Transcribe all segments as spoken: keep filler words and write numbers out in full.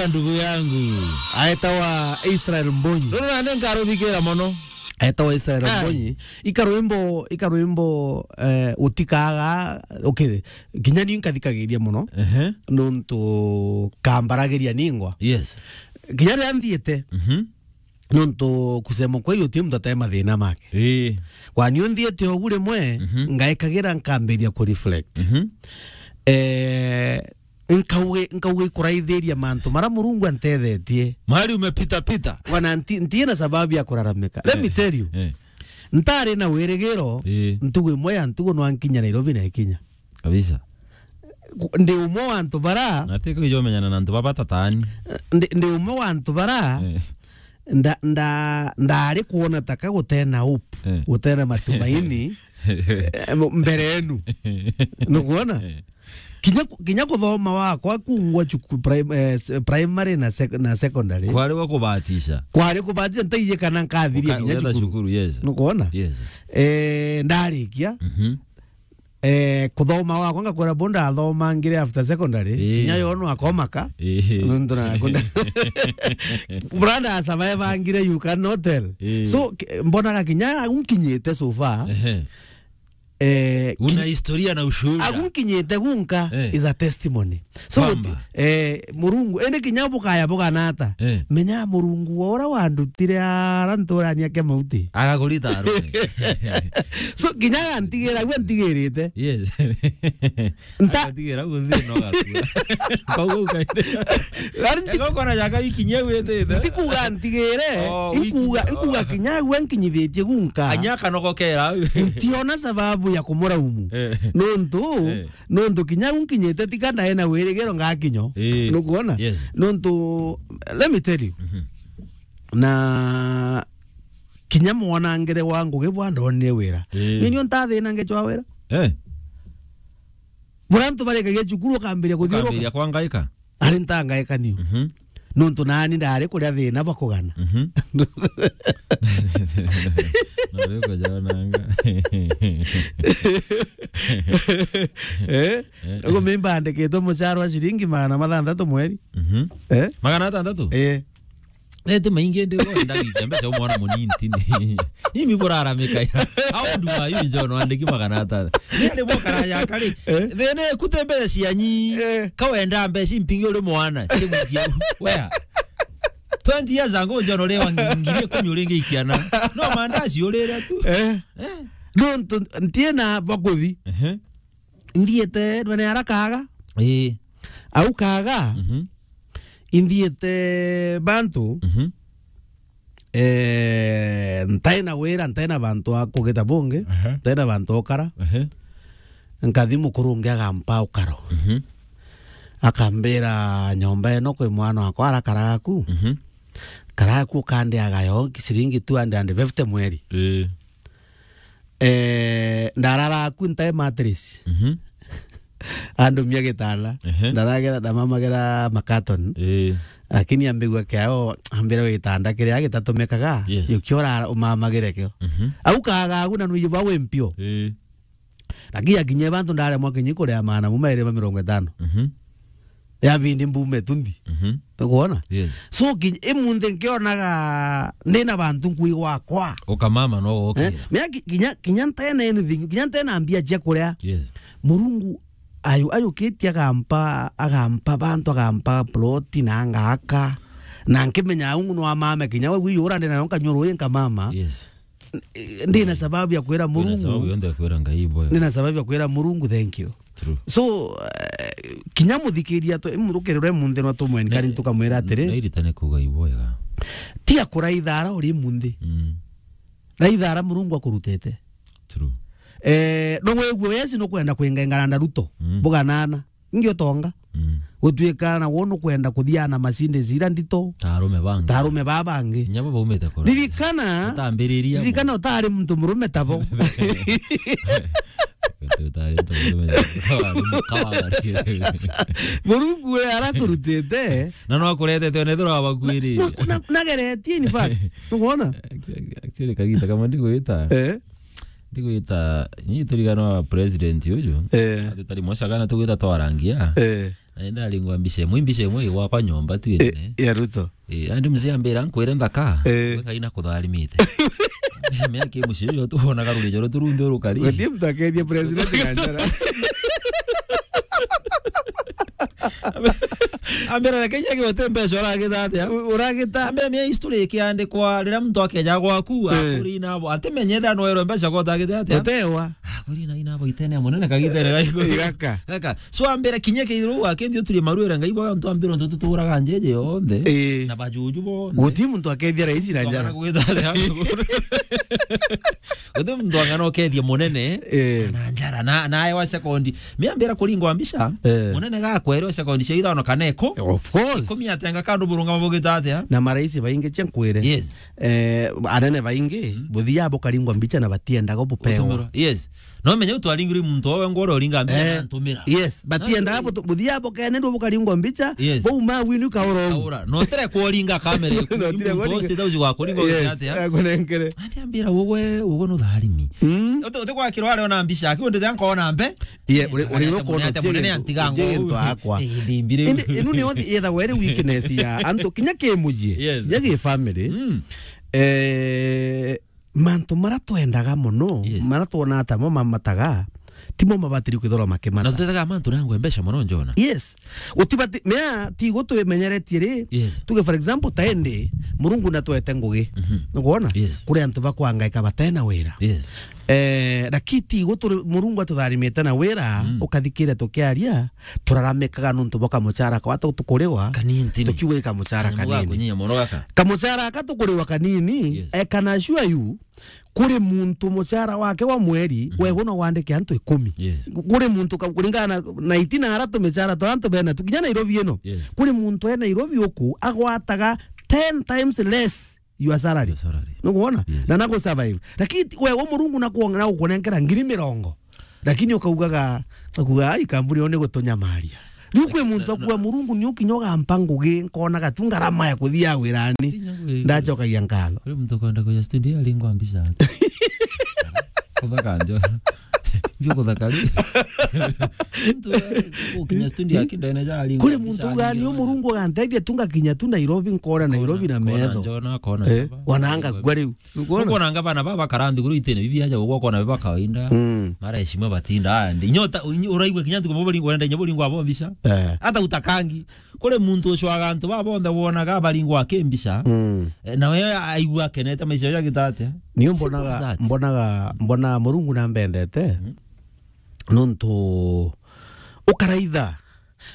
Ndugu yangu. Aetawa Israel Mbonyi. Ruru nandi nkaruthikira mono. Aetawa Israel Ai. Mbonyi. Ikarwimbo, ikarwimbo, eh, utikaga, okay, kinya ni nkathikagiria mono. Ehe. Nontu kambaragiria ningwa. Yes. Kinya riria nthiite. Mhm. Nontu kusema kweli uti muntu atee mathina make. Ii. Kwani unthiite ugu rimwe, Mhm. ngaikagira nkambiria ku reflect. Mhm. Eh, nkauge, nkauge ikuraithiria mantu mara Murungu antethetie. Mahali umepita pita. Wana nti-, ntiina sababu ya kuraramika. Let me Eh, tell you. eh. Ntari na wirigiro, Eh. ntugu imwe ya ntugu nwankinya Nairobi na ikinya. Kabisa. Ku-, ndi umwe wa antu bara Na ti kwijomenyana na antu baba tatani. Ndi, ndi umwe wa antu bara Eh. nda, nda, ndari kwona taka gutena hope, Eh. gutena matumaini, eh, mbere yenu. Nukwona? Eh. Kinya ku-, kinya kuthoma wakwa kungwa chuku prim-, eh, s-, primary na sec-, na secondary. Kwari gwa kubatisha. Kwari kubatisha, ntaije kana nkathiria Uka-, kinya ugetha cukuru. Cukuru, yes. Nukwona? Yes. Eh, ndarikia. Mhm. Eh, kuthoma wakwa ngakwira bo ndathomangire after secondary, Ii. kinya yo no akomaka. Ii. Nontu na kunda. Brother survivangire, you cannot tell. Ii. So, k-, mbonaga kinya agu nkinyite so far. Ehe. Eh, Una ki-, historia na ushuhuda. Agu nkinyite gunka Eh. is a testimony. So, Kwamba. eh, Murungu, indi kinya bukaya bugana ata? Eh. Menya Murungu wa ura wandutire ara nturania kia mauti. Agakurita arume. So, kinya antigira, gwe antigirite. Yes. Nta- Agatigira guthi no gakua. Kauga ukaende. Ari nti- Ego kona jaka ikinya gwitite. Ntikuga ntigire, Oh, inkuga, wiki- inkuga kinya gwe nkinyithitie gunka. Anyaka noko kera. Ntiona sababu ya kumuraumu. Eh. Nontu, Eh. Nontu kinya u nkinyite tika ndae na wirigiro ngakinyo. Ii. Nukwona? Yes. Nontu, let me tell you. Mhm. Na kinya mwanangire wa ngugi bwa ndonire wira. Ii. Ni nio ntathina ngechwa wira. Eh. Bura antu barikagia cukuru ukambiria kuthiuruka. Ukambiria kwangaika. Ari ntangaika niu. Mhm. Nontu nani ndari kuria thina bakugana. Mhm. Nari kuja onanga. Eh? Eh. Ugu mimba andikitwe muchara wa ciringi magana mathanthatu mweri. Mhm. Eh? Magana atandatu? Eh. Eti maingi ndi wenda gicha mbeca umwana munini tini. Imi buraramika ya. How old are you, John? Wandiki magana atano. Ni ari bokara ya kari. Eh? Thene kute mbeca cianyi. Eh. Kawenda mbeca impingi uri mwana. Chegwikia. Wea. Twenty years ago, John, uri wa ngiri ikumi uri ngiikiana. No mandazi urire tu. Eh. Eh. Nontu ntiena bakuthi. Ehe. Nthiete ndwene ara kaga. Ii. Au kaga. Mhm. Inthiete bantu. Mhm. Eh, ntaina wira, ntaina bantu a kugita bungi, Ehe. ntaina bantu okara. Ehe. Nkathi mukuru ungi agampa ukaro. Mhm. Akambira, "Nyomba ino kwi mwana wakwa arakaraga ku." Mhm. Karaga ku ukandiaga yo ciringi two hundred and fifty mweri. Ii. Eh, ndarara ku ntae mattress. Mhm. Andumia gitanda. Ehe. Ndaragera, ndamamagera makaton. Ii. Lakini ambigua kiao, ambira gitanda kiria gitatumikaga. Yes. Yukio ura umamagire kio. Mhm. Au kaga agu na nuyu ba wi mpio. Ii. Lakini akinye bantu ndaremwa kinyi kuria maana muma iri ma mirongo itano. Mhm. Ya bindi mbume tundi. Mhm. Ukwona? Yes. So, ki-, imunthi nkionaga ndina bantu nkui gwakwa. Ukamama no wokira. Eh? Mea ki-, kinya, kinya ntena anything, kinya ntena mbia cia kuria. Yes. Murungu ayu-, ayukitie agampa, agampa bantu, agampa plot na ngaka. Na nkimenya au no amame kinya we wiyura ndina yo nkanyuru nkamama. Yes. Ndina sababu ya kwira Murungu. Ndina sababu yonthe ya kwira Ngai ibwega. Ndina sababu ya kwira Murungu thank you. True. So, eh, kinya muthikiria tu, murukirire munthi no tumwe nkari tukamwira atiri. Nairitane kuga ibwega. Tia kuraitha ara uri munthi. Mm. Raitha ara Murungu akurutete. True. Eh, no wigwe wesi no kwenda kwingengana na Ruto. Mm. Buganana. Ingi utonga. Mm. Gutuika na wono kwenda kuthiana masinde zira ndito. Tarume bangi. Tarume ba bangi. Nyabo baumite kora. Ririkana. Utambiriria. Ririkana utari muntu murume tabo. Utari muntu murume tabo. Utari mukabagari. Murungu we arakurutite. Na no akuretete one thura wabakwiri. Na, na, nageretie in fact. Tukwona? Actually, kagita kamwe ndigwita. Eh. Ndigwita, ni turigano wa president uju. Eh. Ati tari mwacagana tugwita twarangia. Eh. Na ndaringwa mbica imwe, mbica imwe ii gwakwa nyomba tu. Eh, inene. Ya Ruto. Eh, andi mzee ambira, "Nkwire nthaka, eh, we Ngai nakutharimite." Mea ki mucii uyu tuonaga rugijo ruturunthi urukari. Guti muntu akethia president na njara. Ambira, "Reke nyage uti mbeca uragita atia?" U-, uragita. Ambira, "Mia history ikiandikwa riria muntu akeja gwaku, eh, akuri inabo, atimenye ethira noerwe mbeca gotagite atia?" Utewa. Akuri na inabo itene ya munene kagitene gaiko. Igaka. Gaka. So ambira, "Kinya kiru akethia uturie maruire Ngai bwa antu ambira untu tuturaga njeje yonthe." Eh. Na bajuju bonthe. Guti muntu akethia raisi na njara. Guti muntu ang'ana ukethia munene, eh, na njara, na, na aewa sekondi. Miambira kuringwa mbica, eh, munene gakwerwa sekondi cia ithano kana iku-, of course, ikumi atenga kandu burungama bugita atia? Na maraisi baingi cia nkwire. Yes. Eh, anene baingi, mm, buthia bukaringwa mbica na batiendaga bupewa. Utumirwa. Yes. No menye utwaringirwe muntu owe ngoro uringa mbica, eh, na ntumira. Yes, batiendaga butu-, buthia bukene ndu bukaringwa mbica, yes, bau ma winu kauro. Kaura. No tere kuringa kamera. No tere kuringa. State House wa kuringa, yes, atia? Akunengere. Ati ambira, "Ugwe, ugwe nutharimi." Mm. Uti, uti kwa kiro ari ona mbica, aki undi nkoona mbe. Ye, uri, uri no kuona munene antiga ngo. Indi, inu ni othi yetha were weakness ya antu kinya ki mujie. Yes. Kinya ki family. Mm. Eh, mantu mara twendaga muno, yes, mara twona ata mo mamataga, timo mabatiri kwithirwa makimata. Na tutetaga mantu nangwe mbeca muno, njona. Yes. Utibati, mea, ti gutumenyeretie ri. Yes. Tuge, for example, ta indi, Murungu natwete ngugi. Mhm. Nukwona? Yes. Kuri antu bakwangaika batena wira. Yes. Eh, lakini ti guturi Murungu atutharimite na wira, mm, ukathikire tukiaria, turaramikaga nuntu bwa kamuchara kwa tukuriwa, kanini. Tukiuga kamuchara kanini. Kanyamũ ga kunyia moro gaka. Kamuchara aka tukuriwa kanini, yes, I can assure you, kuri muntu muchara wake wa mweri, mhm, wegwa no wandike antu ikumi. Yes. Kuri muntu ka-, kuringana na, na itina ara tumichara twa antu bena tu, kinya Nairobi ino. Yes. Kuri muntu e Nairobi uku agwataga ten times less your salary. Your salary. Nukwona? Yes. Na naku survive. Lakini ti-, we, we Murungu nakuonga-, nagukunenkera ngiri mirongo. Lakini ukaugaga, ukuga, "Ai, kambuni yo ni gutunyamaria." Riu kwi muntu akuga, "Murungu, ni ukinya ugampa ngugi, nkona gatu ngarama ya kuthia wirani." Ndacokagia nkatho. Kuri muntu kwenda kuja studio, aringwa mbica yake. Kuthaka njo. Mbio kuthaka ri. Mtu, eh, ukinya studio yake ndene ja aringwa mbica. Kuri muntu uga, "Ni Murungu aganteithia tu ngakinya tu Nairobi, nkona Nairobi na metho." Nkona njo na kona. Eh, saba. Wananga kwa riu. Nukwona? Nukwona anga bana baba karandi kuru itene bibi aja gukwa kona biba kawaida. Mm. Mara heshima batinda andi. Inyota, inyo-, uraigwe kinya ntuko bobori ngwenda inyo bori ngwa bo mbica. Eh. Ata utakangi. Kuri muntu ucwaga antu baba bonthe wonaga bari ngwa ke mbica. Mm. Eh, na we aigua kenete maisha ya gitate. Niyo mbonaga, simple as that. Mbonaga, mbona Murungu na mbendete. Mm. Nuntu ukaraitha.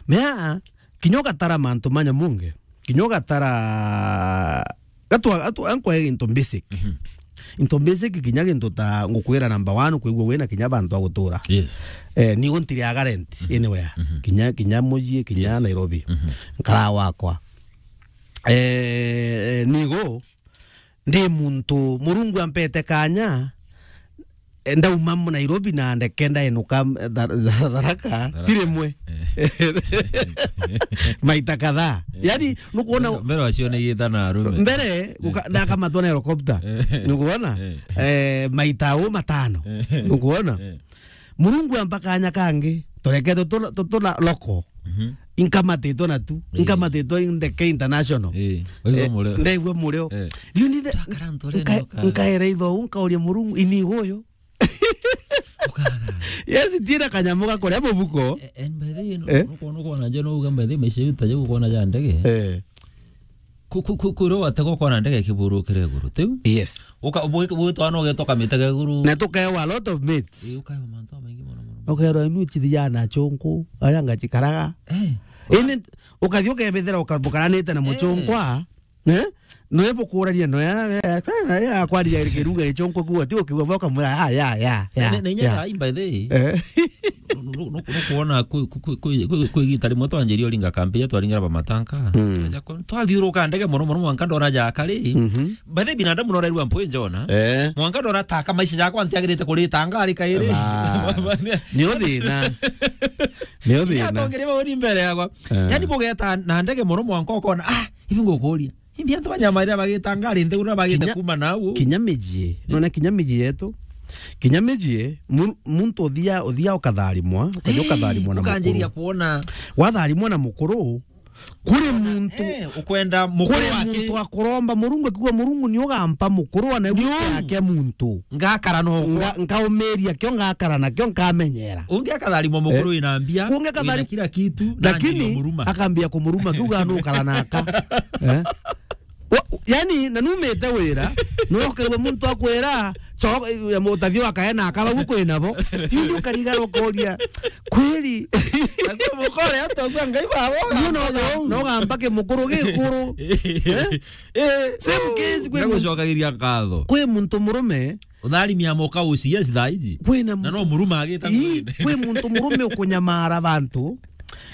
Mea, kinya ugatara mantu manya munge. Kinya ugatara, gatwa, atu, ankwa into basic. Mhm. Into basic kinya gintu ta ngukwira number one kwigua wina kinya bantu a gutura. Yes. Eh, nigo ntiriaga rent, mhm, anywhere. Mhm. Kinya, kinya mujie, kinya, yes, Nairobi. Mhm. Nkara wakwa. Eh, nigo ndi muntu Murungu ampete kanya, eh, ndauma mu Nairobi na ndeke ndaenuka, eh, Tha-, Tha-, Tharaka, Tharaka, ti rimwe. Eh. Maita kadhaa. Eh. Yani, nukwona mbere, mbere wacio ni gita na arume. Mbere, eh, guka-, ndakamatwa na helicopter. Eh. Nukwona? Eh. Eh, maita u matano. Eh. Nukwona? Eh. Murungu ampa kanya kangi, tureketwe tuna, tu-, tuna loko. Mhm. Inkamatitwe na tu, eh, inkamatitwe ndeke international. Eh, waigua, eh, murio. Ndaigua murio. Eh. Riu ni nde-, twakara nture nka-, nka-, nkaera itho, nkauria Murungu, ini uyu. Ukaga. Yes, tira kanyamu gakuria mubuko. Eh, and by the way, no, eh? Nukwona, nukwona nje no uga by the way, maisha yuta je gukwona ja ndege. Eh. Ku-, ku-, ku-, kuria watega ukona ndege ikiburukira iguru, tiu? Yes. Uka-, bu-, bu-, twana ugetwa kamitega iguru. Na tukewa a lot of mates. Ii, ukaewa mantu jamaingi mono, mono, mono. Ukerwa inu chithijana chunku, aria ngachikaraga. Eh. Ini, ukathi ukebithira ukabukaranite na, eh, muchunkwa, eh? Noe bukurania, noe, eh, eh, eh, akwaria kiruga gichunku kuo, ti ukiuga boka mura, ya, ya, ya, ya, na, na inya ya. Ai, by the way, eh, nu-, nu-, nu-, nukwona kwi, kwi, kwi igita rimwe twanjirie uringa kambi iria twaringira bamatanka. Mm. Twaja ku-, twathiuruka ndege mono mono mwanka ndona jaka ri. Mhm. By the way, binadamu norairua mpwi njona. Eh. Mwanka ndona taka maisha jakwa ntiagirite kurita ngari kairi. Bas. Nio thina. Nio thina. Yatongire bauri mbere yakwa. Eh. Yani bugeta na ndege mono mwanka ukona, ah, ibi ngukuria. Imbi antu banyamaira bagita ngari nthiguru na bagite kinya, kuma nau. Kinya mijie. Eh. Nona kinya mijie yetu. Kinya mijie, mu-, muntu uthia, uthia ukatharimwa, ukaja ukatharimwa na ukanjiria mukuru. Kuona. Watharimwa na mukuru, kuri muntu, eh, ukwenda mukuru kuri wake. Muntu akuromba Murungu, akiuga, "Murungu, ni ugampa mukuru, ona Ni uu. Yake muntu. Ngakara no Nga-, nkaumiria kio, ngakara nakio, nkamenyera." Ungi akatharimwa mukuru. Eh. Wina mbia, ungi akathari-, wina kila kitu, na lakini ndio muruma. Akambia kumuruma, akiuga, "Nukara naka." Eh? Wa-, yani, na numite wira, no ukaigua muntu akwira, "Cho-, eh, mutathio akae na akaba guku ina bo." Yu ndio ukarigara ukoria, "Kweli?" Nakuo mukore antu akua Ngai babo. Yu no ga-, no gamba ki mukuru gikuru. Eh? Eh, same case kwi muntu, gucokagiria nkatho. Kwi muntu murume. Utharimia moka uci, yes, thaa iji. Kwina na muntu, no muruma agita ii, mwene. Kwi muntu murume ukunyamara bantu.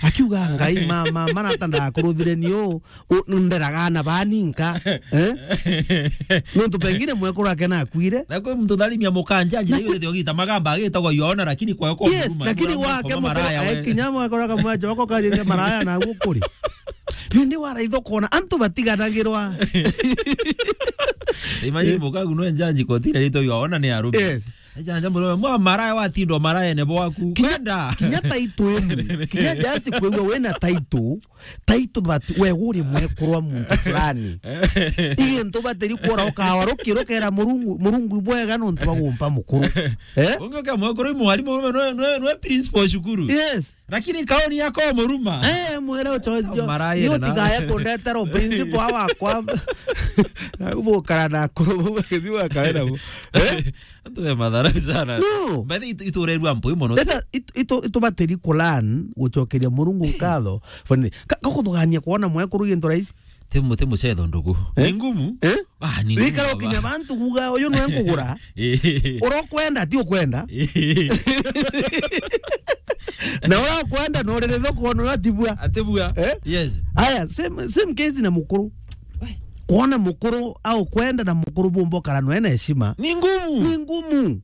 Akiuga, "Ngai, ma, ma, marata ndakuruthire ni uu, u-, nderaga na baninka." Eh? Nontu pengine mwekuru ake nakuire. Na kwi muntu tharimia mukanjaji, na kwi- yurite ogita magamba agitagwa yuona, lakini kwa kwa. Yes, muruma, lakini muruma wake mukuru, maraya, eh, we. Kinya mwekuru akamwacha wako karire maraya na gukuri. Yu ndi waraitha ukona antu batiganagirwa. Imagine mukagu no njanji kotira rito yuona ni arume. Yes. Ejanja murume, mwa maraya watindo maraya ne bwaku. Kinya, kwenda. Kinya title imu. Kinya just kwigua wina title, title that we uri mwekuru wa muntu fulani. Igi ntu batiri kuora ukawa rukiro kera Murungu, Murungu ibwega nontu bagumpa mukuru. Eh? Ungi ukia mwekuru i mwarimu, no, no, no principal cukuru. Yes. Lakini kaoni yako muruma. Eh, mwere uchojo. Maraya ni na utigaya kundetera principal wakwa. Na ubukara na akuru bau bakithiwa kawe nabo. Eh? Antu be mathara sana. No. But itu-, iturerua mpui mono. Leta itu-, itu-, itubatiri kulan gucokeria Murungu nkatho. Funny. Ka-, kakuthugania kuona mwekuru gintu rahisi. Ti mu-, ti mucetho ndugu. Eh? Ni ngumu. Eh? Ah, ni ngumu. Wikara baba. Ukinya bantu kuga, "Uyu nwe nkugura." Eh. Urokwenda, ti ukwenda. Eh. Na urokwenda, no riri thoko, no atibua. Atibua. Eh? Yes. Aya, same, same case na mukuru. Wai. Kuona mukuru au kwenda na mukuru bumba ukara nwe na heshima. Ni ngumu. Ni ngumu.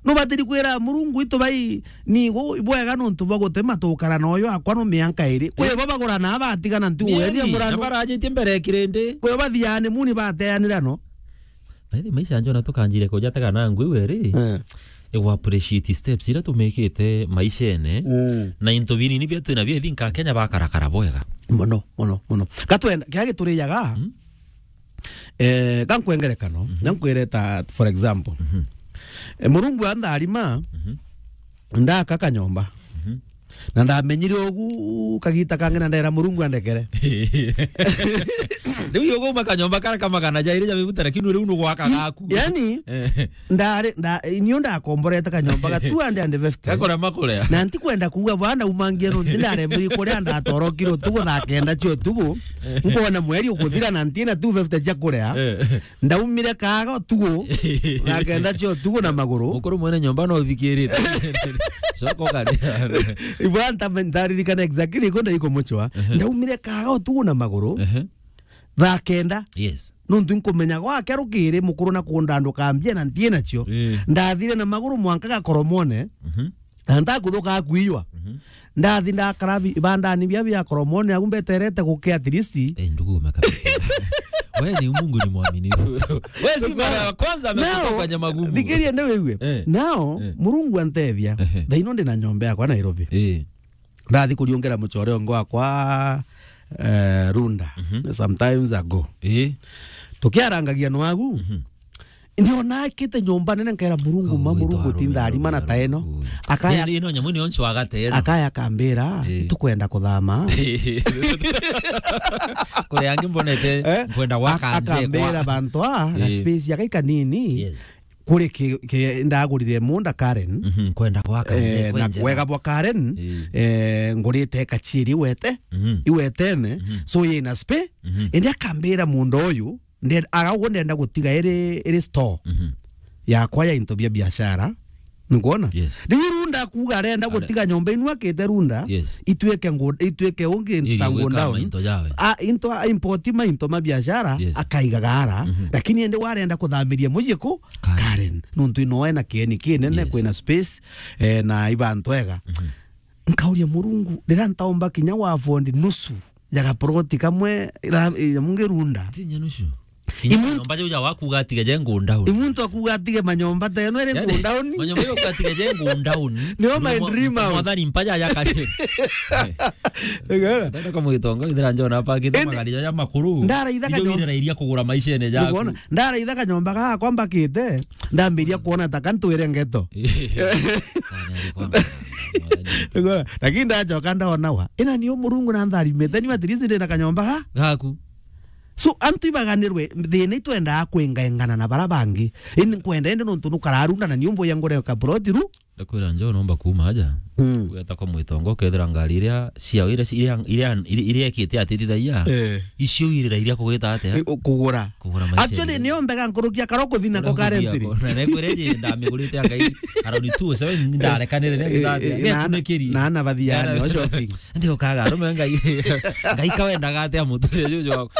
Nubatiri kwira Murungu, "Itu bai, ni gu-, bwega nontu bwa gutema tukara na uyu akwa no mianka iri." Kwi bo bagurana batigana ntu. Ni weria ani, murano. Na barajitie mbere ya kirindi. Kwi bo bathiani muni bateanira no. By the way, maisha njona tukanjire kuja tega na ngui weri. Eh. Igu appreciate steps iria tumikite maishene. Mm. Na into binini bia twina bia thinka Kenya bakarakara bwega. Mono, mono, mono. Gatwenda, kia giturijaga. Mm. Eh, ka nkwe ngerekano, mhm, na nkwire ta, for example. Mhm. Eh, Murungu antharima, mhm, ndaka kanyomba. Mhm. Na ndamenyire ugu kagita kangi na ndera Murungu andekere. Riu yo guma kanyomba kara ka magana jairi ja mibuta, lakini riu nugwaka gaku. Yani, eh, ndari, nda-, inio ndakomborete kanyomba ga two hundred and fifty. Gakora makuria. Na ntikwenda kuuga bwana umangie no nti ndaremiri kuria ndatorokire utugu thaa kenda cia utugu. Nkona mweri ukuthira na ntina two fifty cia kuria. Eh. Ndaumire kaga utugu, thaa kenda cia utugu na maguru. Mukuru mwene nyomba no uthikirite. Coka ukari. Ibwa nta-, ntaririkana exactly iko ndaikumuchwa. Ehe. Ndaumire kaga utugu na maguru. Ehe. Thaa kenda. Yes. Nontu nkumenya gwake rukiri mukuru na kundanduka mbia na ntie nacio. Eh. Ndathire na maguru mwanka Gakoromone. Mhm. Na ntakuthuka kuiywa. Mhm. Ndathi ndakara bi-, ibandani bia bia Koromone, au mbeterete guke at least. Eh, ndugu umeka. Wewe ni Mungu ni mwaminifu. Wewe si mara ya kwanza amekupa kwenye magumu. Thikiria ndio wewe. Eh. Nao, eh, Murungu antethia. Ehe. Thaino ndi na nyomba yakwa Nairobi. Eh. Ndathi kuriongera muchore ongo wakwa, eh, Runda. Mhm. Sometimes ago. Eh. Tukiarangagia nwagu. Mhm. Ndiona akite nyomba nene, nkaira Murungu, oh, ma Murungu, tinda arima na taeno. Akaya, ino nyamu ni oncho agatero. Akaya akambira, eh, "Tukwenda kuthama." Kuri angi mbonete, eh? Nkwenda gwaka nje kwa. Akambira bantu a, eh, space ya kai kanini. Yes. Kuri ki, ki, ndagurire munda Karen. Mhm, nkwenda gwaka nje, eh, na kwenjera. Kwega bwa Karen, eh, eh, ngurite kachiri iwete, mhm, iwetene. Mhm. So yina space, mhm, indi akambira munda uyu, Nde-, aga uguo ndenda gutiga iri, iri store, mhm, yakwa ya into bia biashara. Nikuona? Yes. Riu Runda akuga arenda gutiga nyomba inu akite Runda, yes, itwike ngu-, itwike ungi into ta godown. Into yawe. A, into, a, import ma into ma biashara, yes, akaiga gara. Mhm. Lakini ende warenda kuthamiria mucii ku Karen. Karen. Nontu ino ena kieni kinene, yes, kwina space, eh, na ibantu ega. Mhm. Nkauria Murungu, riria ntaomba kinya wa afford nusu ya gaporoti kamwe, ira-, ya mungi Runda. Tinya nusu. Kinya manyomba jau ja wakuga atige je go down. I muntu akuga atige manyomba ta eno ere go down. Manyomba jau atige je go down. Nio my dream house. Mwathani mpaja ya kare. Ndenda kwa mwitongo, ithira njona apakite magari jaja makuru. Ndaraitha kanyo-, iria kugura maishene jaku. Ndaraitha kanyomba gakwa mbakite, ndambiria kuona ta kantwire ngeto. Lakini ndacoka ndona wa. Ina ni Murungu na ntharimite, ni at least ndina kanyomba ga. Gaku. So, antu ibaganirwe, thina itwendaa kwingaingana na bara bangi. Ini nkwenda indi nontu nukararunda na niumbu ya ngure ka plot ru. Ndakwira njo nomba kuuma aja. Mm. Ugeta kwa mwitongo, ukethira ngari iria ciao iria, iria, iria, iria, iria ekite atitithagia. Eh. Icio irira iria kugita atia? I-, u-, kugura. Kugura maisha. Actually, nio mbega nkurukia karo kuthina ko currently. Na nekwire je ndamigurite angai around two oh seven ndarekanire ne gita atia. Eh, eh, na, na, na, na bathiani o shopping. Ndi ukaga arume ngai. Ngai kawendaga atia muturire juju wako.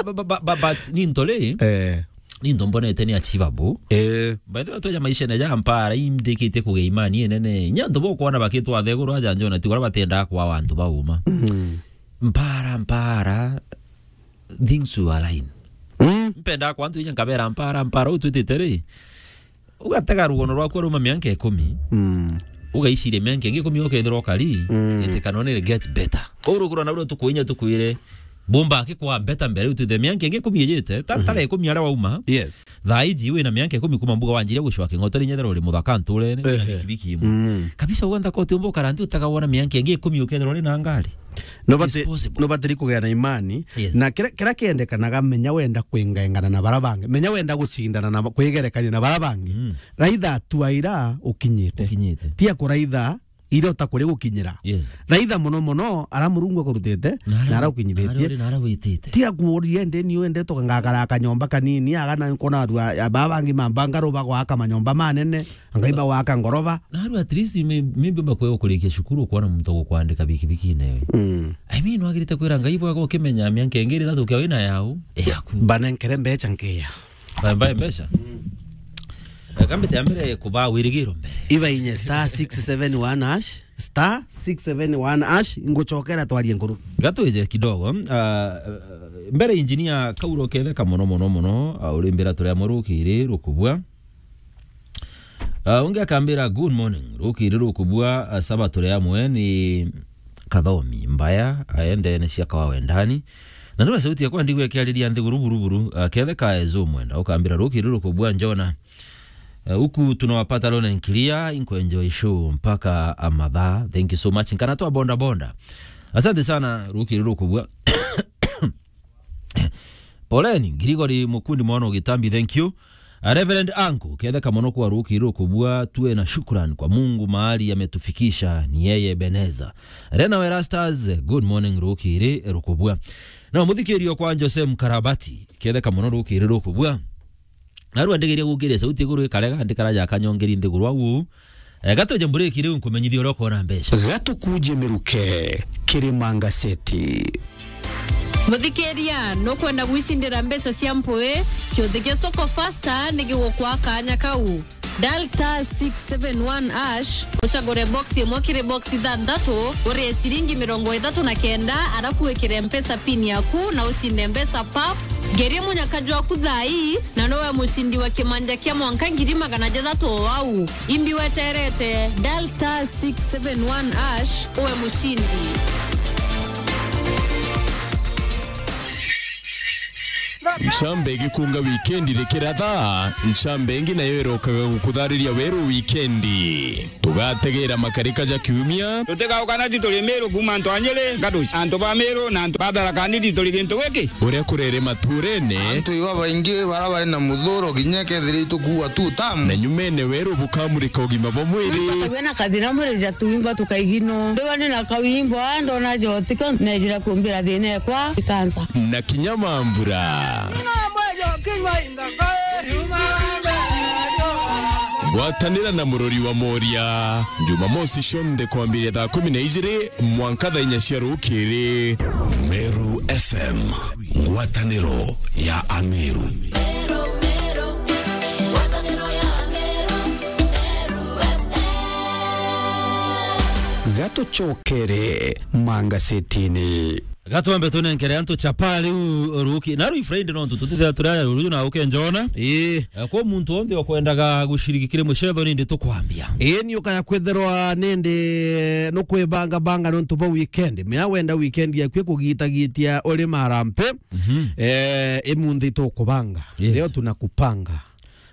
Ba-, ba-, ba-, ba-, but ni ntole. Eh. Ni nto mbonete ni achievable. Eh. By the way, tweja maishene ja mpara, imdikitie kugia imani inene. Inya antu bokwona bakitwa theguru aja njona, ti kuria batiendaga kwawa antu bauma. Mm. Mpara, mpara, things will align. Mm. Mpendaga kwa antu inya nkabera mpara, mpara, u twitite ri, ugatega rugono rwaku ruma mianka ikumi. Mm. Ugaiciria mianka ingi ikumi ukethirwa ukari, mm, it can only get better. Kou ruguru na ruo tukuinya tukwire, bumba akikwa better mbere, utwithe mianka ingi ikumi ijite, ta, mhm, tara ikumi aria wauma. Yes. Thaa iji wina mianka ikumi kuma mbuga wanjiria gucwa king'oteri nyethera uri muthaka nturene, wina, ehe, bikibiki imwe. Mm. Kabisa uganda koti umba ukara nthi utaga wona mianka ingi ikumi ukethirwa uri na ngari. No bati-, disposable, no batiri kugia na imani. Yes. Na kira, kira kiendekanaga, menya wenda kwingaingana na bara bangi. Menya wenda gucindana na ba-, kwigerekania na bara bangi. Mm. Raitha atua ira ukinyite. Ukinyite. Tia kuraitha ira utakuria gukinyira. Yes. Raitha muno muno ara Murungu akurutite, na ara, na ara ukinyithitie. Na ara uri, na ara witite. Tia kuuria ndi ni wende tukangakara kanyomba kanini, aga na nkona arua, ya baba bangi mambanga ruba gwaka manyomba manene. Ngai bagwaka ngoroba. Na aru at least may-, maybe bakwe ukurikia cukuru, ukwona muntu gukwandika bikibiki newe. Mm. I mean, wagirite kwira Ngai bwaga ukimenya mianka ingi ithatu kia wina yau, yaku. Banenkere mbecha nkiya. Ba-, bae mbecha? Mm. Eh, kambite ya mbere kuba wirigiro mbere. Iba inye star six seven one hash, star six seven one hash, nguchokera twarie nkuru. Gatwije kidogo, ah, mbere engineer Kauro ketheka muno, muno, muno, ah, urimbira turia murukiri rukubua. Ah, ungi akambira, "Good morning, rukiri rukubua, ah, saba turi amwe ni Kathomi mbaya, aende ni cia kawa wendani." Na ndio sauti yakwa ndigwe kiariria nthiguru buruburu, ah, kethe ka ezo mwenda, ukambira, "Rukiri rukubua njona. Eh, huku tunawapata loud and clear, inko enjoy show mpaka amathaa. Thank you so much. Nkana twa bonda bonda." Asante sana, rukiri rukubua. Poleni, Gregory Mukundi mwana wa Gitambi, thank you. Ah, Reverend Anku, ketheka muno kwa rukiri rukubua, tuwe na shukran kwa Mungu mahali ametufikisha, ni yeye Ebeneza. Rena Werastas, good morning rukiri rukubua. Na muthikirio kwa Jose Mkarabati, ketheka muno rukiri rukubua. Narua ndigeria gukiria sauti iguru ikarega, ndikara ja kanyongeri nthiguru au. Eh, gatuje mburiki riu nkumenyithia uria ukona mbeca. Gatukuje miruke, Kirima Ngaseti. Muthikiria, nukwenda gwicindira mbeca cia mpui? Kiuthi gia Soko Fasta ni gigukwa kanya kau. Dial star six seven one hash, ucagure box imwe kiri box ithanthatu, urie ciringi mirongo ithatu na kenda, arafu wikire Mpesa pin yaku na ucinde mbeca pap. Ngerie munyaka jwaku thaa ii, na nowe mucindi wa kimanja kia mwanka ngiri magana jathatu o au. Imbi weterete, dial star six seven one hash, uwe mucindi. Ncamba igikunga wikendi rikiratha, ncamba ingi nayo irokaga gukuthariria weru wikendi. Tugategera makarika ja kiumia. Tutigauka na tituri Miru kuuma antu a Nyeri, Ngatuci, antu ba Miru na antu ba Tharaka Nithi turi gintu giki. Uria kurere maturene. Antu iba baingi bara bari na muthuro kinya kethira itukuua tu tamu. Na nyumene weru bukamurika ugima bwa mwiri. Wina kathina mwiri ja tuimba tukaigino. Ndiwa ni na kawimbo, ndona jotiko, nejira kumbira thina ekwa ikansa. Na kinya mambura. Ngwatanira na murori wa Moria. Jumamosi cionthe kwambiria thaa kumi na ijiri mwanka thaa inya cia rukiri. Meru F M, ngwataniro ya Ameru. Gatucokere mangasetini. Gatwambe tunenkere antu chapa riu ruki. Na riu Friday no tutithira turi aya ruju na uke njona. Ii. Eh, kwa muntu onthe okwendaga gushiriki kiri mucetho nindi tukwambia. Ii, ni ukaya kwithirwa nindi nukwibanga banga nontu bwa weekend. Mea wenda weekend yaku ikugitagitia uri marampe. Mhm. Eh, imunthi tukubanga. Yes. Leo tunakupanga.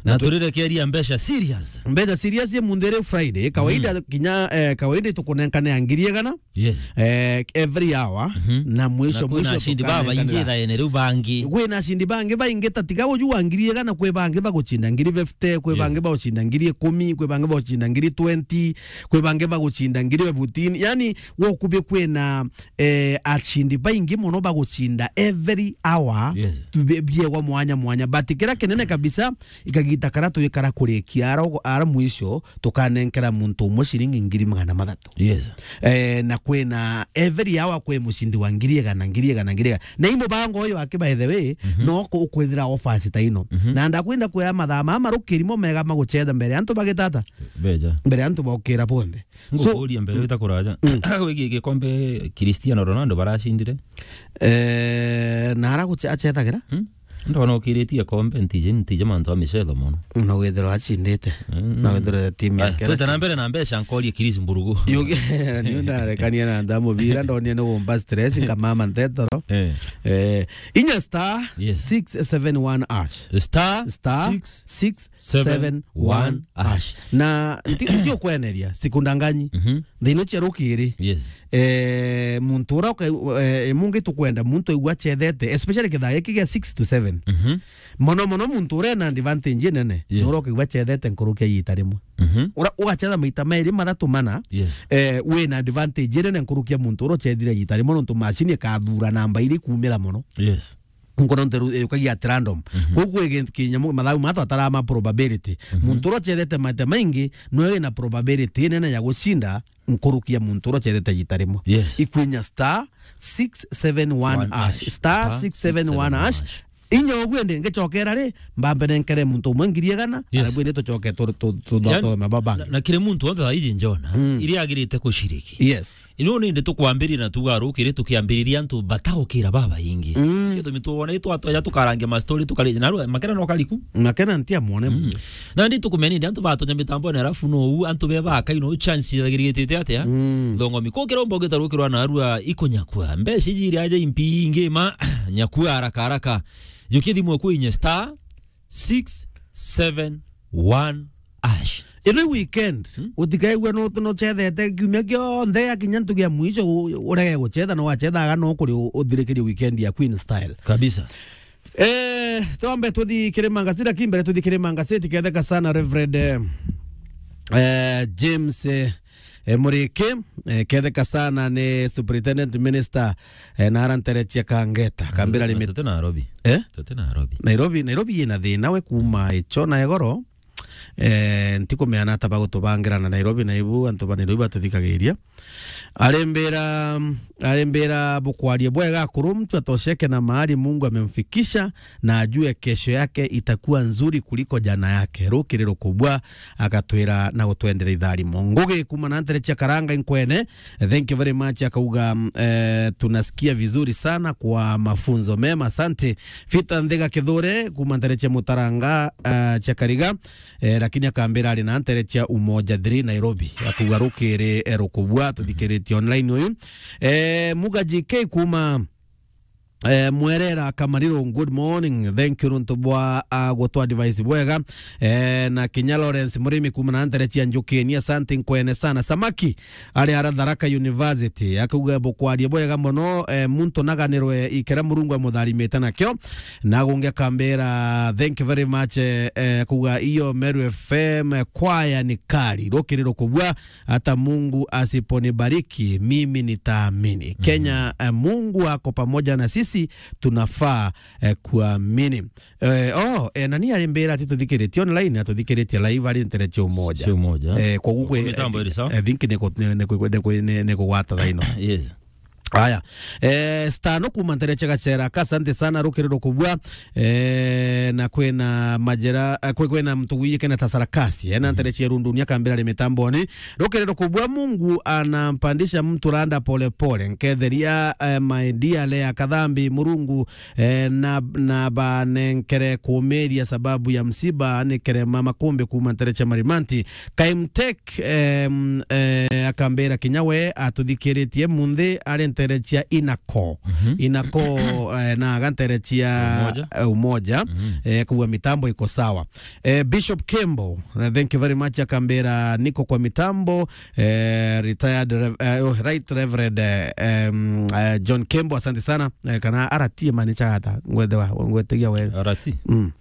Na tu- turirekeria mbeca serious. Mbeca serious imunthi ri Friday. Kawaida kinya, eh, kawaida tukunenkane ya ngiri igana. Yes. Eh, every hour, mhm, na mwisho, na kwina mwisho ashindi tukanenkane babaingi na thaene riu bangi. Kwina ashindi bangi baingi, ta tiga uju wa ngiri igana, kwi bangi bagucinda ngiri fifty, kwi, yes, bangi bagucinda ngiri ikumi, kwi bangi bagucinda ngiri twenty, kwi bangi bagucinda ngiri fifteen. Yani, wokubi kwina, eh, ashindi baingi mono bagucinda every hour, yes, tu-, bi-, biegwa mwanya mwanya. But kira kinene kabisa, ikagita kara twikara kurikia ara, ara mwisho, tukanenkera muntu umwe ciringi ngiri magana mathatu. Yes. Eh, na kwina every hour kwi mucindi wa ngiri igana, ngiri igana, ngiri igana. Na i mubango uyu wake, by the way, mhm, no ku-, ukwithira offers ta ino. Mhm. Na ndakwenda kuya mathaa mama rukirimo mega magucetha mbere antu bagitata. Beja. Mbere antu bokira bonthe. So, ngukuria mbere, mm, wita kuraja. Mm. Wiki gikombe Cristiano Ronaldo baracindire. Eh, na ara guce-, acethagira? Hmm? Ndona ukiritie kombe, ntije, ntije mantu a micetho mono. Na withirwa acindite. Mm. Na withirwa timu yake twete na mbere na mbeca, nkorie Chris Mburugu. Yugi, ni ndarekania na nda mubira, ndonie ni gumba stress, nkamama ntetoro. Eh. Eh, inya star, yes, six seven one hash. Star six seven one hash. Star six seven one hash. Na nti-, nti ukweneria, siku ndanganyi. Mhm. Thiina cia rukiri. Yes. Eh, muntu ura uka-, eh, mungi tukwenda muntu aigua acethete, especially kithaa giki gia six to seven. Mhm. Mono mono muntu ura ena advantage nene, yes, ni ura ukaigua acethete nkuruki ya iita rimwe. Mhm. Ura ugacetha maita mairi, mathatu, mana, yes, eh, wina advantage nene nkuruki ya muntu ura ucethire iita rimwe, nontu macini ikathura namba iri kuumira mono. Yes. Nkono nteru, eh, ukagia at random. Mhm. Koguo kwĩ kintu kinyamu, mathabu maya twataraa ma probability. Mhm. Muntu uria ucethete maita maingi, nwe wina probability nene ya gucinda nkuruki ya muntu uria ucethete iita rimwe. Yes. Ikwinya star six seven one hash. One hash. Star six seven one hash. Star six seven one hash. Inya uguo ndi ngicokera ri, mbambe nenkere muntu umwe ngiri igana, yes, arabu ndi tucoke tu-, tu-, tu-, yani, tuthome babanga. Na, na kiri muntu onthe thaa iji njona, mm, iria agirite kuciriki. Yes. Ino nindi tukwambiriria na tuga rukiri tukiambiriria antu bataukira babaingi. Mm. Gitumi tuona itwatweja tukarangia ma story tukari-, na rua, Makena no kariku? Makena ntia mwone. Mm. Nandi tukumenya nindi antu batonya mitambone, alafu no u antu be bakai no chance yagirigitite atia? Mm. Thongomi. Kukira umbo gita rukirwa na arua ikunyakua. Mbeca iji iri aja impi ingi ma nyakua haraka haraka. Jukia thimu eku inye star six seven one hash. Ino weekend, hmm? Utikaigua no, no chethete kiumia kionthe, akinya ntugi ya mwisho u-, urege gucetha, no wacethaga no kuri u-, uthirikirie weekend ya Queen Style. Kabisa. Eh, twambe tuthi kiri mangazeti, lakini mbere tuthi kiri mangazeti, ketheka sana Reverend, eh, eh, James, eh, eh, Muriki, eh, ketheka sana ni Superintendent Minister, eh, na aranterechia kangeta, kambira limit. Tuti Nairobi. Eh? Tuti Nairobi. Nairobi, Nairobi ina thina we kuma icho na egoro. Eh, ntikumeana ata bagutubangira na Nairobi, na ibu antu ba Nairobi batuthikagiria. Arimbira, arimbira bukwaria bwega akuru, mtu atosheke na mahali Mungu amemfikisha, na ajue kesho yake itakuwa nzuri kuliko jana yake. Rukiri rukubwa, agatwira na gutwendera itharimo. Ngugi kuma na ntere cia Karanga Inkwene, thank you very much, akauga, mm, eh, tunasikia vizuri sana kwa mafunzo mema. Asante. Peter Ndhiga Kithure, kuma ntere cia Mutaranga, eh, cia Kariga, eh, lakini akambira ari na ntere cia Umoja three Nairobi. Akauga rukiri, eh, rukubwa, tuthikiritie online uyu. Eh, Muga G K kuma Eh, Mwerera Kamariro, good morning. Thank you nontu bwa, ah, gutwa advice bwega. Eh, na kinya Lawrence Murimi kuma na ntere cia Njukini, asante nkwene sana. Samaki ari ara Tharaka University, akauga bukwaria bwega mono, eh, muntu naganirwe ikera Murungu amutharimite nakio. Na gungi akambira, thank you very much, eh, eh, kuga iyo Meru F M, eh, kwaya ni kari, rukiri rukubwa. Hata Mungu asiponibariki, mimi nitaamini. Mhm. Kenya, eh, Mungu ako pamoja na sisi, tunafaa, eh, kuamini. Eh, oh, eh, nani arimbira ati tuthikiritie online, na tuthikiritie live ari ntere cia Umoja. Cia Umoja. Eh, kwa guku, mitambo iri sawa? I think ni ku-, ni, ni ku-, ni ku-, ni, ni kugwata thaino. Yes. Aya. Eh, Stano kuma ntere cia Gacera, ka asante sana, rukiri rukubua. Eh, na kwina majera, eh, kwi-, kwina mtu gwiyikene ta Sarakasi, eh, na ntere cia Rundunia kambira ri mitamboni. Rukiri rukubua, Mungu anampandisha mtu randa pole pole. Nketheria, eh, my dear Lea Kathambi, Murungu, eh, na, na banenkere kumiria sababu ya msiba, nikere mama kumbi kuma ntere cia Marimanti. Kaimtek, em, eh, akambira kinya we atuthikiritie munthi ari ntere cia Inako. Mhm. Inako, eh, na aga ntere cia Umoja. Eh, Umoja. Mhm. Eh, kuwa mitambo iko sawa. Eh, Bishop Kembo, eh, thank you very much, akambira niko kwa mitambo, eh, retired Rev-, eh, oh, Right Reverend, eh, em, eh, John Kembo, asante sana. Eh, kana R T mani chagata, ngwete wa, ngwetegia we. R T? Mm.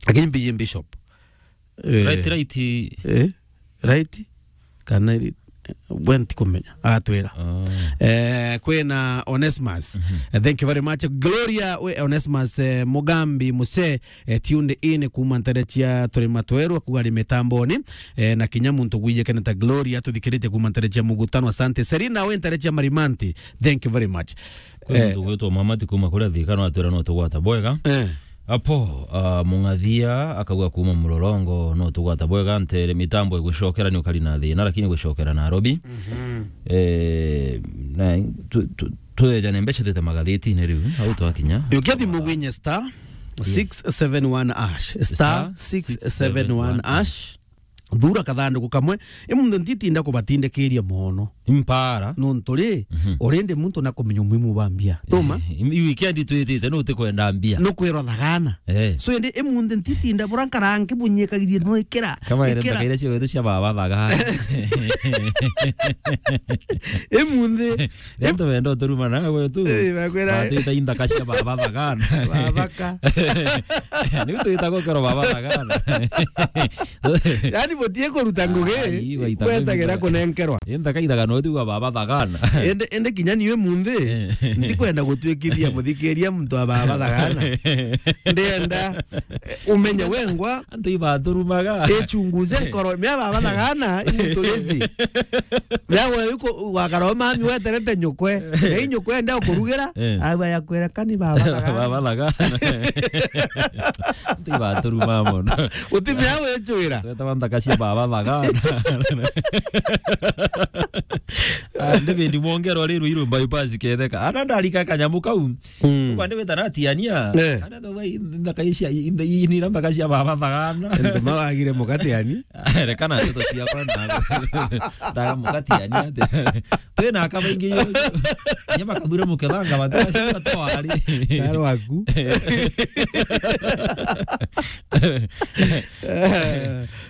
Lakini B M Bishop. Eh, right, right. Eh? Right? Kana iri, we ntikumenya, agatwira. Ah. Eh, kwina Onesmus. Mhm. Eh, thank you very much. Gloria, we Onesmus, eh, Mugambi Muse, eh, tuned in kuma ntere cia Turima Tweru, akuga ari mitamboni. Eh, na kinya muntu gwiyikene ta Gloria, atuthikiritie kuma ntere cia Mugutano. Asante. Serina, we ntere cia Marimanti. Thank you very much. Kwi, eh, muntu gwitwa Mama ti kuma kuria Thika, no atwira no tugwata bwega. Eh. Apo, ah, Mung'athia akauga kuma Mlolongo, no tugwata bwega, ntere mitambo igucokera ni ukari na thina, lakini gucokera Nairobi. Mhm. Eh, na tu, tu, twejane mbeca twite magathitine riu, au twakinya. Yukia thimu gwinye star, yes, six seven one hash. Star six seven one hash. Thura kathanduku kamwe. Imunthe ntitinda kubatindikiria mono. Impara. Nontu ri, mhm, already muntu nakumenya umuhimu bwa mbia. Tuma? Eh, i weekend twitite, nu utikwenda mbia. Nukwirwa thagana. Eh. So, indi imunthe ntitinda bura nkara nkibunyikagirie no ikira. Kama ere ikira. Ntakaire cio gwetu cia baba thagana. Imunthe. Rento wendo turuma na gwetu. Eh, bakwira. Batita inthaka cia baba thagana. Babaka. Ni twita gukero baba thagana. Yani, butie kuruta ngugi, ai, waita ngwetagira ngugi kunenkerwa. Inthaka ithagana uti wa baba thagana. Ende, ende kinya niwe munthi, eh, ndikwenda gutwikithia muthikiria muntu wa baba thagana. Ndienda, eh, umenye wengwa. Antu ibaturumaga. Ichunguze nkoro, mia baba thagana, imutulizi. Yawe yuko wakaro mami weterete nyukwe. Na inyukwe ndio kurugira, eh, awa yakwira kani baba thagana. Baba thagana. Antu ibaturuma mono. Utimea wechwira. Twetawa nthaka cia baba thagana. Ah, David Mwongero ri Ruiru bypass ketheka. Ana ndarika kanyamu kau. Mm. Kwa ndio wetana tiania. Eh. Ana ndo wai nthaka cia, inde ini nthaka cia baba thagana. Ndo mawagire mukatiani. Rekana ndeto ciakwa na. Ndaga mukatiani ate. Twina aka baingi yo. Nya bakathure mukethanga batwari. Taro waku.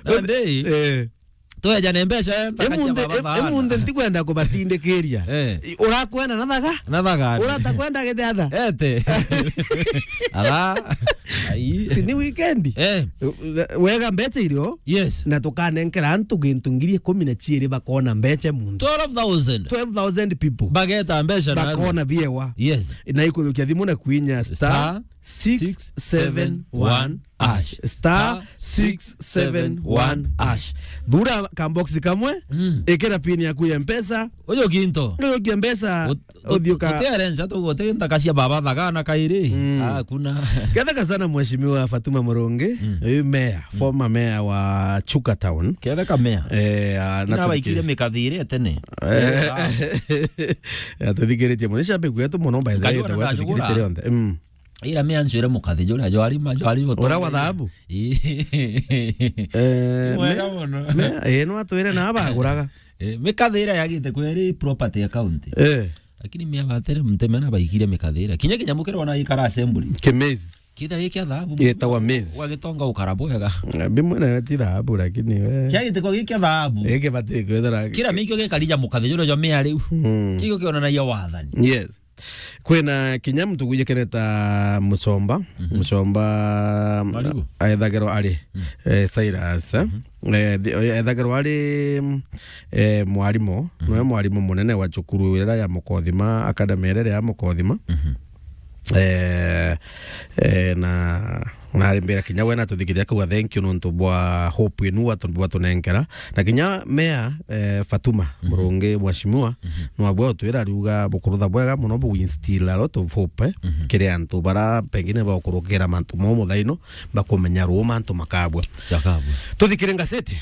Na ndei. Eh. Twejane mbeca, eh, ntaka cia baba thagana. Emunthi ntikwenda kubatindikiria. Eh. I-, urakwenda na thaga? Na thaga. Uratakwenda githiatha? Ete. Ala. Ai. Si ni weekend? Eh. Wega mbeca irio? Yes. Na tukanenkera antu gintu ngiri ikumi na ciiri bakona mbeca muntu. Twelve thousand. Twelve thousand people. Bageta mbeca na bakona biewa. Yes. Na ikuthukia thimu na kwinya star star six seven one hash. Star six seven one hash. Thura kambox kamwe, mm, ikira pin yaku ya Mpesa. Uyo ginto. Uyo kia Mpesa, ut-, ut-, uthiuka. Uti arrange tu, uti ntaka cia baba thagana kairi. Mm. Ah, kuna. Ketheka sana Mheshimiwa Fatuma Murungi, mm, uyu mayor, mm, former mayor wa Chuka Town. Ketheka mayor. Eh, ah, na ina baikire mikathire tene. Eh, ah. Atuthikiritie muno, ni shabiki wetu muno, by the way, Ngari ona tagwa ndanyugura. Atuthikiritie rionthe. Mm. Ira me anjwire mukathi juria jwari ma, jwari boto. Ura wa thahabu? Ii. Eh, mwega me-, muno. Me-, eh, no atwire na abaguraga. Eh, mikathi ira yagite kweri property ya county. Eh. Lakini mia batere mteme na baikire mikathi ira. Kinya kinyamu kiri wana ikara assembly. Kimezi. Kithira gikia thahabu. Gitawa mezi. Wagitonga ukara bwega. Eh, bimwe na ti thahabu, lakini we. Kiagite kwa gikia thahabu. Ege bati kwethera. Kira mikio gikarija mukathi juria jwa mia riu. Mm. Kigio kionanagia wathani. Yes. Kwina kinya muntu gwije keneta Muchomba. Mhm. Muchomba Marigu. Aethagirwa ari, mm, eh, Cyrus, eh? Mhm. Eh, thi-, aethagirwa ari, mm, eh, mwarimu, mhm, niwe mwarimu munene wa cukuru iria ya Mukothima, academy iria ya Mukothima. Mhm. Eh, eh, na nari mbira kinya we natuthikiria kuga thank you nontu bwa hope inu watu bwatunenkera. Na kinya mea, eh, Fatuma, mhm, Murungi mheshimiwa, mhm, no abwa utwira ariuga bukurutha bwega muno bu instill a lot of hope, eh, mhm, kiri antu bara pengine baukurukira mantu mo muthaino, bakumenya ruu mantu makabwa. Jakabwa. Tuthikire ngaseti.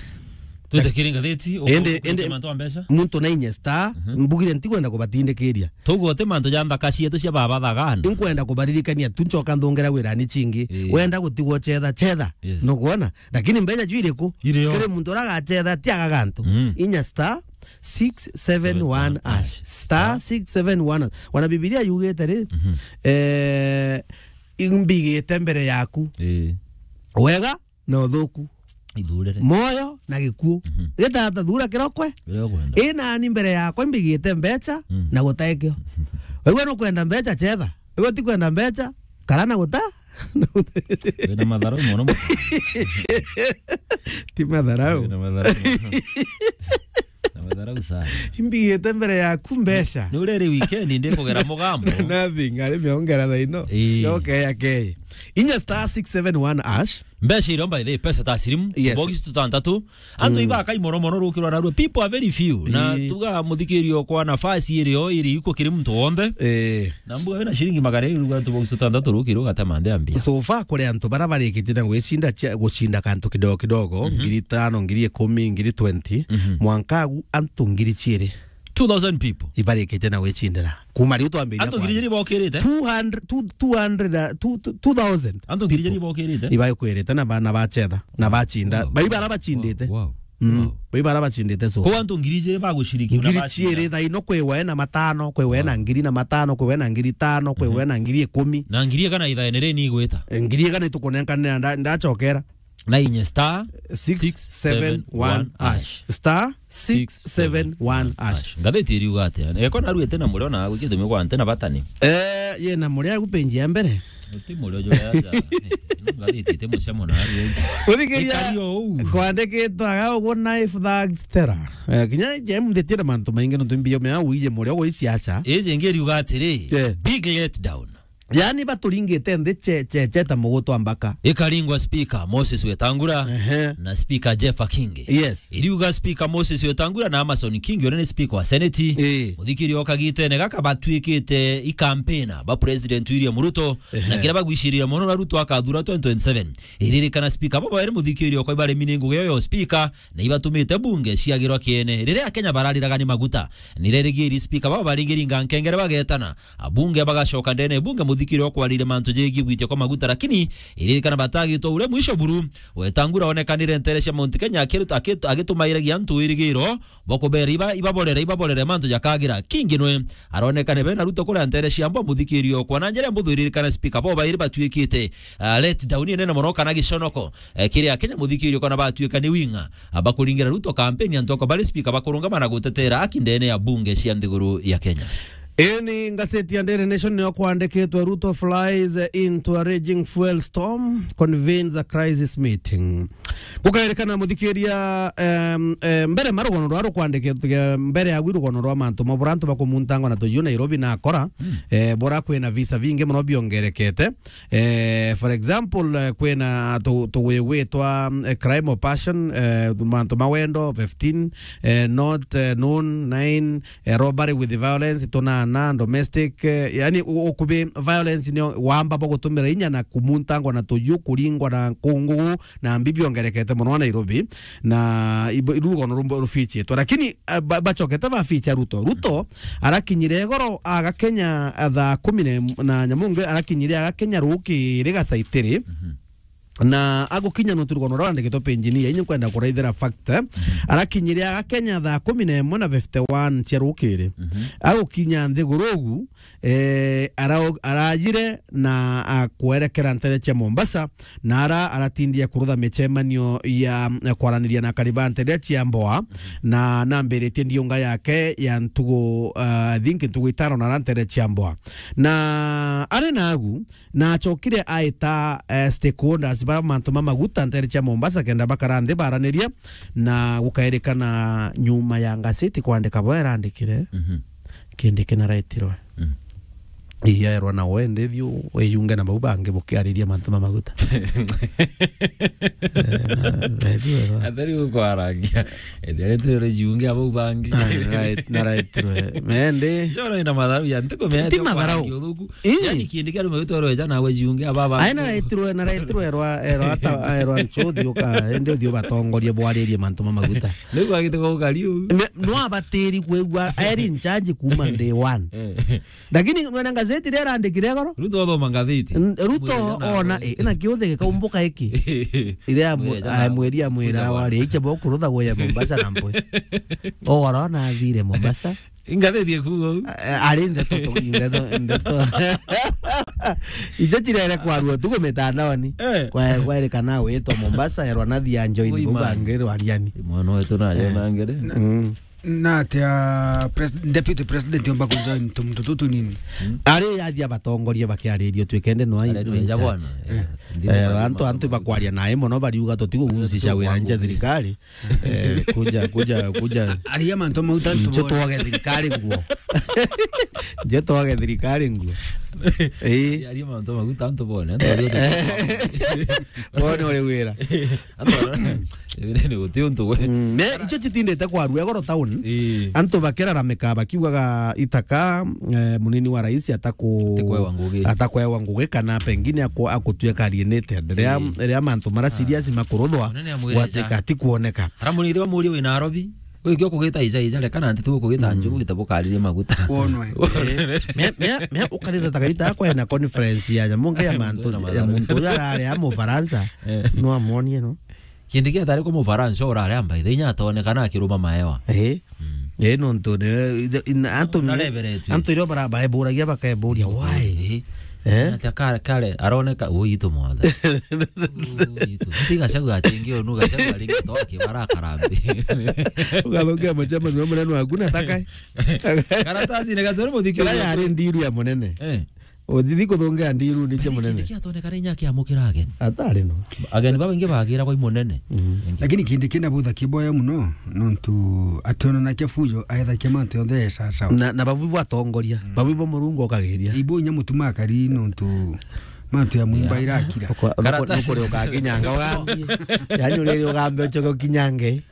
Twite kiri ngathiti, indi, uku-, indi mantu a mbeca. Muntu na inya star, mhm, mbugire ntikwenda kubatindikiria. Tugo ti mantu ja nthaka cietu cia baba thagana. Inkwenda kubaririkania tu ncoka nthungera wirani cingi. Ii. Wenda gutigwo chetha, chetha. Yes. Nukwona? Lakini mbeca ju iriku? Irio. Kiri muntu uragachetha, ti agaga antu. Mm. Inya star six seven one hash. Star six seven one hash. Wana Bibilia yugite ri, mhm, eh, imbigite mbere yaku. Ii. Wega na uthuku. Ithurire. Moyo na gikuu. Mhm. Gitata thura kirokwe. Kiria ukwenda. Ii nani mbere yakwa mbigite mbeca, mm, na gutaikio. Wigua nukwenda mbeca chetha. Wigua ti kwenda mbeca, kara na guta. Wina matharau mono mo. Ti matharau. Wina matharau mono. Na matharau sana. Imbigite mbere yaku mbeca. Ni ureri weekend ndikugera mugambo. Nothing, ari miongera thaino. Ii. Yoke ya kei. Inya star six seven one hash. Mbeca irio by the way, pesa taslimu, yes, tubox tutantatu. Antu, mm, ibaka imoro mono rukirwa narua. People are very few. Na, ii, tuga muthikirio kwa nafasi irio iri iko kiri muntu wonde. Eh. Na mbuga wina shilingi magana iri ruga tubox tutantatu rukirwa gatema nde ambia. So far kuri antu bara barikitie na gwicinda cia-, gucinda kantu kidogo kidogo, mhm, ngiri tano, ngiri ikumi, ngiri twenty, mhm, mwanka agu antu ngiri ciiri. Two thousand people. Ibarikite na gwicindira. Kuma riu twambiria. Antu ngiri ijiri bokirite? Two hundred, two, two hundred, uh, two, two, two thousand. Antu ngiri ijiri bokirite? Ibakwirite na ba-, na bachetha, na bacinda. Wow. Bai bara bacindite. Wow. Mm. Wow. Bai bara bacindite so. Kwa antu ngiri ijiri bagushiriki na bachinda. Ngiri ciiri thaino kwi we na matano, kwi we na, wow, ngiri na matano, kwi we na ngiri tano, kwi we, mhm, na ngiri ikumi. Na ngiri igana ithaene ri ni igwita? Eh, ngiri igana itukunenkanira nda-, ndachokera. Na inye star six seven one hash. Star six seven one hash. Ngathiti iriuga atia? Eko naruite na murio na gwiki thumi kwa ante na batani. Eh, ye na murio agu page ya mbere. Uti murio jo ya ja. Ngathiti ite mucemo na aru. Uthikiria. Ikari o uu. Kwandikitwe aga uguo knife thugs terror. Eh, kinya je mthitire mantu maingi no tumbio me au ije murio gwi siasa. Ije ngiriuga atiri, yeah, big letdown. Yaani baturingite nthi che-, che-, cheta mugutu ambaka. Ikaringwa Speaker Moses Wetangula, ehe, na Speaker Jeff Akingi. Yes. Iriuga Speaker Moses Wetangula na Amason Kingi, uria ni Speaker wa Senate. Ii. Muthikirio kagitene gaka batuikite ikampena ba President William Ruto, ehe, na kiria bagwicirira mono na Ruto akathura twenty twenty-seven. Iririkana Speaker baba eri muthikirio kwa ibari mini ngugi yo Speaker, na ibatumite bunge ciagirwa kiene. Riria Akenya barariraga ni maguta, nirerigiri Speaker baba baringiringa nkengere bagetana. Abunge bagacoka ndene bunge muthikiri wa kwarire mantu jegie gwitia kwa maguta, lakini iririkana batagitwa uria mwisho buru. Wetangula onekanire ntere cia Mount Kenya akiruta-, akitu-, agitumairagia antu wirigiro bwa kubera iba-, ibaborere, ibaborere mantu jakagira. Kingi nwe aronekane bena Ruto kuria ntere cia Mbwa muthikiri okwa. Na njira mbuthu iririkana Speaker bo bairi batuikite, ah, let down inene mono kana giconoko, eh, kiri Akenya muthikiri okwa na batuika ni winga. Abakuringira Ruto kampeni antu akwa bari Speaker bakurungama na gutetera aki ndene ya bunge cia nthiguru ya Kenya. Eni ngaseti ya Daily Nation niyo kwandikitwe, "Ruto flies into a raging fuel storm, convenes a crisis meeting." Gukairikana muthikiria, em, em, mbere ma rugono rwa rukwandikitwe, mbere ya gwi rugono rwa mantu ma bura antu bakumuntangwa na tuju Nairobi na akora, mm, eh, bura kwina visa vingi muno biongerekete. Eh, for example, eh, kwina tu-, tugwi gwitwa, eh, crime of passion, eh, mantu ma wendo, fifteen, eh, not, eh, known, nine, eh, robbery with violence, tunana, domestic, eh, yani u-, ukubi violence ni wamba bwa gutumira inya na kumuntangwa na tuju, kuringwa na kungugu, na mbi biongerekete muno Nairobi, na ibo-, rugono rumbo rufichitwe. Lakini, eh, ba-, bachokete baficha Ruto. Ruto arakinyire igoro aga Kenya, ah, thaa kumi na imwe na nyamunge, arakinyire aga Kenya rukiri gacaitiri. Mhm. Na agukinya nontu rugono rurandikitwe page-ini ya inye nkwenda kuraithira fact, eh. Mhm. Arakinyire aga Kenya thaa kumi na imwe na fifty-one cia rukiri. Mhm. Agukinya nthiguru ugu, eh, ara-, arajire na akwerekera ntere cia Mombasa, na ara aratindia kurutha micemanio ya, ya kwaraniria na akari ba ntere cia Mboa, na nambiritie ndiunga yake ya ntugu, ah, I think ntugu itano na ara ntere cia Mboa. Na ari nagu, na achokire aita, eh, stakeholders ba mantu ma maguta ntere cia Mombasa kenda bakara nthi baraniria, na gukairikana nyuma ya ngaseti kwandika bo erandikire, mhm, kindi kinaraitirwe. Mm. Ii, aerwa na we, ndithiu wiyunge na bau bangi bukiariria mantu ma maguta. Eh, na, ndithiu aerwa. Atheri gukwarangia. Ethia retirwe jiunge abau bangi. Ah, nara-, naraitirwe. Mendi. Jora ina matharau ya ntuku mea. Ti matharau. Ii. Yani kindi kia rume witwa roja na we jiunge aba bangi. Ai, naraitirwe, naraitirwe erwa, erwa ata, erwa nchuthi uka, indi uthio batongorie bwaririe mantu ma maguta. Niguo agite gukari uu. Ne-, no abatiri kwigua, eri in charge kuma day one. Eh. Lakini mwena ngazeti iria irandikire igoro. Ruto othoma ngatheti. N-, Ruto ona, eh, ina kiuthe gikaumbuka iki. Iria amu-, mwiri amwira wari, iche bo kurutha gwe ya Mombasa na mpwe. Ogoro na athire Mombasa. Ngatheti ikuuga uu. A-, ari ndeto tu, ndeto, ndeto. Ijo cirere kwarua tu ku mitandaoni. Eh. Kwa, kwerikana witwa Mombasa, erwa na thia njoini. Ui, man. Bangirwa ariani. Mwana wetu nayo, eh, na ngere. Mm. Na atia pres-, deputy president omba kujoin tumuntu tutu nini? Mm. Ari athia batongoria bakiaririo twikende no ai. Ari no in charge. Bwana. Eh. Eh, antu, antu bakwaria nae mono bariuga tutigugucisha wira nje thirikari. Eh, kuja, kuja, kuja. Aria mantu mau tantu nje bone. Twage thirikari nguo. Nje twage thirikari nguo. Eh. Aria mantu mau tantu bone. Bone uri wira. Antu, ni guti untu gwe. Mm, ne, icio citindite kwarua igoro town. Ii. Antu bakiraramika bakiugaga itaka, eh, munini wa rais ataku-, atakwewa ngugi. Atakwewa ngugi kana pengine aku-, akutuika alienated. Ria, ii, ria mantu mara serious makuruthwa, munene amwire gwatuika ja. Atikuoneka. Ara munini bamurie wi Nairobi. Wikio kugita ija ija, reka na nti tu kugita njuru, wite bukaririe maguta. Wonwe. Me, me, me ukaritha ta gaita kwena conference ya nyamu nge ya mantu, ya muntu uria arari a Mufaransa. Eh. No amonie, no? Kindi kia tari ku Mufaransa urari amba ithe inya atonekana akiruma maewa. Eh. Mm. Eh, nontu ne, ithe, in-, antu, nareberetwe. Antu irio bara-, baeburagia bakeburia, why? Eh. Eh? Ati kare, kare, aroneka, ui itu mothe. Ui itu. Ati Gachagua atingi onu, Gachagua ringi to akibara karambi. Ugathungia mucemanio wa munene waku na taka. Karatasi ni gatwere muthikio. Kira yari ndiru ya munene. Eh. Uthithi kuthungia ndiru ni cia munene. Kindi kia atoneka ri inya akiamukira ageni. Atari no. Ageni baba ingi bagira kwa munene. Mm. Ingi. Lakini kindi kina butha kiboya muno, nontu ationanakia fujo, aethakia mantu yonthe sawa sawa. Na, na babu batongoria, mm, babu bo Murungu okagiria. Ibo inya mutuma akari nontu mantu ya mumba, yeah, irakira. Kwa, karatasi. Nukuri ukakinyanga ugambie. Yani uriri ugambe ucoke ukinyange.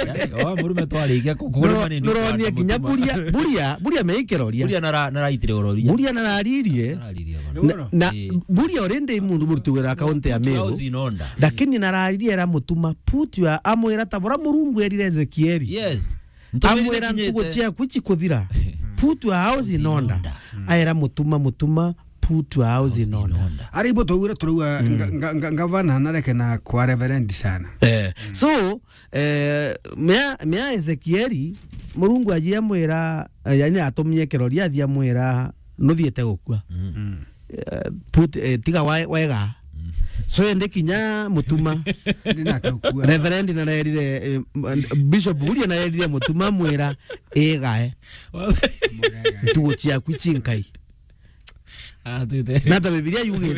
Yani, wa murume twarikia ku-, kurima nini. Nuronie kinya Buria, Buria, Buria meikero ria. Buria nara-, naraitire uroria. Buria nararirie. Nararirie bana. Na, na ii. Buria already mundu muruti wira kaunti ya Meru. House in order. Lakini nararirie era mutuma put your, amwira ta bura Murungu erire Ezekieli. Yes. Amwira ntugu ciaku cikuthira. Put your house in order. Mm. Aera mutuma, mutuma, put your house in order. Ari ibo twaugire turauga, mm, nga-, nga-, nga-, ngavana nareke na kwa reverend sana. Eh. Mm. So, eh, mea, mea Ezekieli, Murungu aji amwira, eh, yani atumie kiroria athi amwira, nuthiete gukua. Mm. Mm. Eh, put, eh, tiga wa-, wega. Mm. So, ende kinya mutuma. Ndinatokua. Reverend narerire, eh, m-, Bishop Buria narerire mutuma mwira, igae. Ntugu ciaku cinkai. Ah, tuite. Na ta Bibilia yugite.